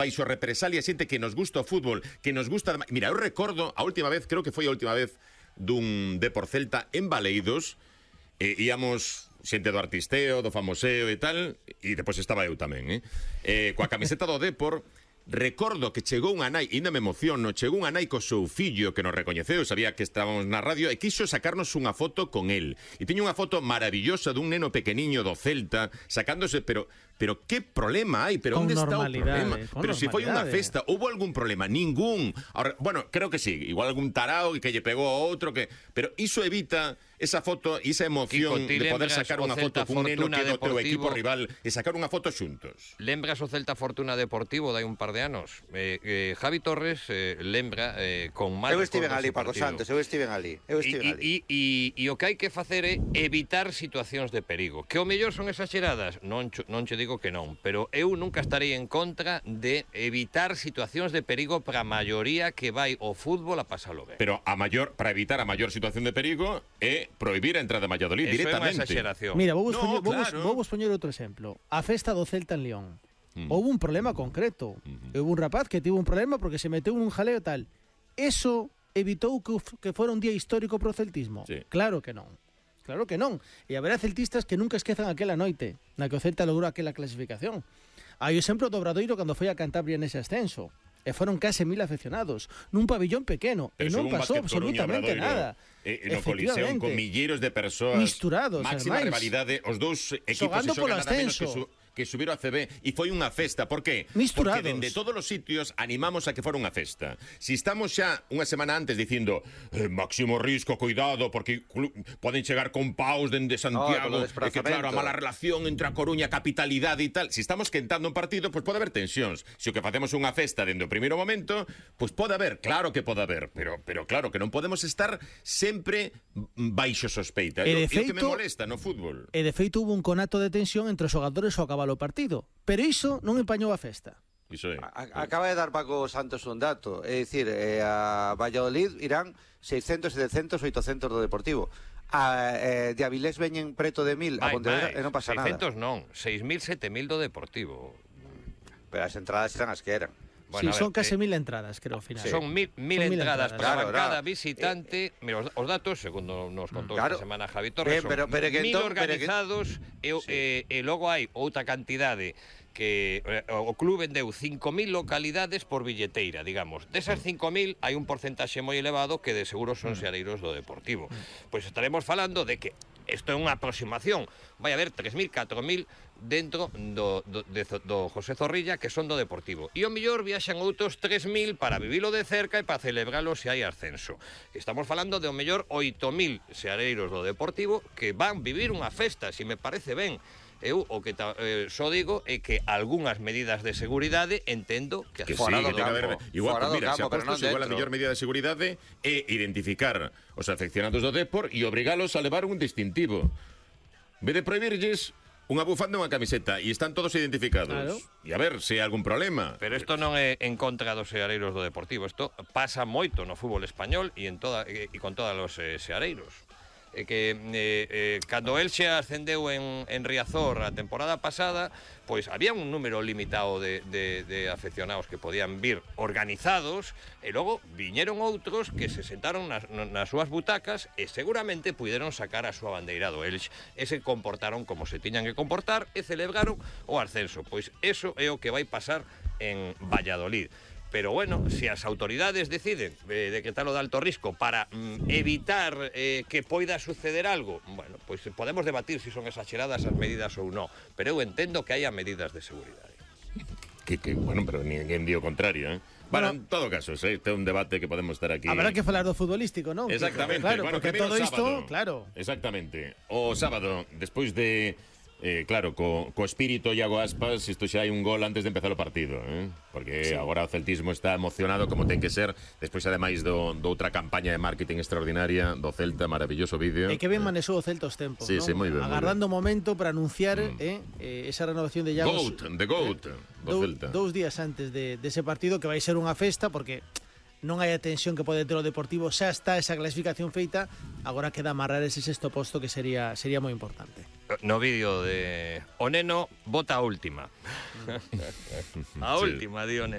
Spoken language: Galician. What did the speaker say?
baixo represalia xente que nos gusta o fútbol, que nos gusta... Mira, eu recordo a última vez, creo que foi a última vez dun Depor Celta en Baleidos, íamos xente do artisteo, do famoseo e tal, e depois estaba eu tamén, coa camiseta do Depor. Recordo que chegou unha nai, ainda me emociono, chegou unha nai co seu fillo que nos recoñeceu, sabía que estábamos na radio e quiso sacarnos unha foto con el. E tiña unha foto maravillosa dun neno pequeniño do Celta, sacándose, pero que problema hai? Pero onde está o problema? Pero se foi unha festa, houve algún problema? Ningún. Ahora, bueno, creo que sí, igual algún tarao que lle pegou a outro, pero iso evita esa foto e esa emoción de poder sacar unha foto cun neno que é do teu equipo rival e sacar unha foto xuntos. Lembras o Celta Fortuna Deportivo de hai un par de anos? Javi Torres lembra con máis... Eu estiven ali, Paco Santos, eu estiven ali. E o que hai que facer é evitar situacións de perigo. Que o mellor son exageradas? Non che digo que non, pero eu nunca estarei en contra de evitar situacións de perigo para a maioría que vai ao fútbol a pasalo ben. Pero para evitar a maior situación de perigo é prohibir a entrada de Valladolid directamente. Eso é unha exageración. Mira, vou poñer outro exemplo. A festa do Celta en León. Houve un problema concreto. Houve un rapaz que tivo un problema porque se meteu nun jaleo tal. Eso evitou que fora un día histórico pro celtismo? Sí. Claro que non. Claro que non. E haberá celtistas que nunca esquezan aquela noite na que o Celta logrou aquela clasificación. Hai o exemplo do Obradoiro cando foi a Cantabria nese ascenso. E foron case 1000 afeccionados nun pabillón pequeno e non pasou absolutamente nada. No Coliseo con milleiros de persoas misturados, máxima rivalidade, os dous equipos xogando polo ascenso que subieron a CB e foi unha festa. Por qué? Misturados. Porque dende todos os sitios animamos a que fora unha festa. Si estamos xa unha semana antes dicindo máximo risco, cuidado, porque poden chegar con paus dende Santiago, e que claro, a mala relación entre a Coruña, capitalidade e tal. Si estamos quentando un partido, pois pode haber tensións. Se o que facemos unha festa dende o primeiro momento, pois pode haber, claro que pode haber, pero claro que non podemos estar sempre baixo sospeita. É o que me molesta no fútbol. E de feito hubo un conato de tensión entre os xogadores ao acabar o partido, pero iso non empañou a festa. Acaba de dar Paco Santos un dato, é dicir, a Valladolid irán 600, 700, 800 do Deportivo. De Avilés veñen preto de 1000 a Pontevedra e non pasa 600 nada. 600 non, 6000, 7000 do Deportivo. Pero as entradas eran as que eran. Bueno, sí, son case 1000 entradas, creo, ao final. Son 1000 entradas para cada visitante. Mira, os datos, segundo nos contou esta semana Javi Torres, son 1000 organizados e logo hai outra cantidade que o club vendeu 5000 localidades por billeteira, digamos. Desas 5000 hai un porcentaxe moi elevado que de seguro son seareiros do Deportivo. Pois estaremos falando de que isto é unha aproximación. Vai haber 3000, 4000 dentro do José Zorrilla que son do Deportivo. E o mellor viaxan outros 3000 para vivilo de cerca e para celebralo se hai ascenso. Estamos falando de o mellor 8000 seareiros do Deportivo que van vivir unha festa, se me parece ben. Eu o que só digo é que algunhas medidas de seguridade entendo que fora do campo. Igual, mira, se apostos, igual a mellor medida de seguridade é identificar os afeccionados do Depor e obrigalos a levar un distintivo. En vez de prohibirlles unha bufanda e unha camiseta e están todos identificados. Claro. E a ver se hai algún problema. Pero isto non é en contra dos seareiros do Deportivo. Isto pasa moito no fútbol español e con todos os seareiros. Que cando el xa ascendeu en Riazor a temporada pasada, pois había un número limitado de afeccionados que podían vir organizados e logo viñeron outros que se sentaron nas súas butacas e seguramente puideron sacar a súa bandeira do Elx e se comportaron como se tiñan que comportar e celebraron o ascenso. Pois eso é o que vai pasar en Valladolid. Pero bueno, se as autoridades deciden decretar o de alto risco para evitar que poida suceder algo, bueno, pois podemos debatir se son exageradas as medidas ou non, pero eu entendo que haya medidas de seguridade. Bueno, pero ninguén di o contrario, Bueno, en todo caso, este é un debate que podemos estar aquí. Habrá que falar do futbolístico, non? Exactamente. Claro, bueno, porque todo isto, claro. Exactamente. O sábado, despois de claro, co espírito Iago Aspas, isto xa hai un gol antes de empezar o partido, porque sí, agora o celtismo está emocionado como ten que ser, despois ademais do outra campaña de marketing extraordinaria do Celta, maravilloso vídeo. E que ben manexou o Celta os tempos, sí, non? Sí, moi ben. Agardando o momento para anunciar esa renovación de Iago. The GOAT do Celta. 2 días antes de ese partido que vai ser unha festa, porque non hai a tensión que pode ter o Deportivo, xa está esa clasificación feita, agora queda amarrar ese sexto posto que sería moi importante. no vídeo de o neno bota a última. A última, di o neno.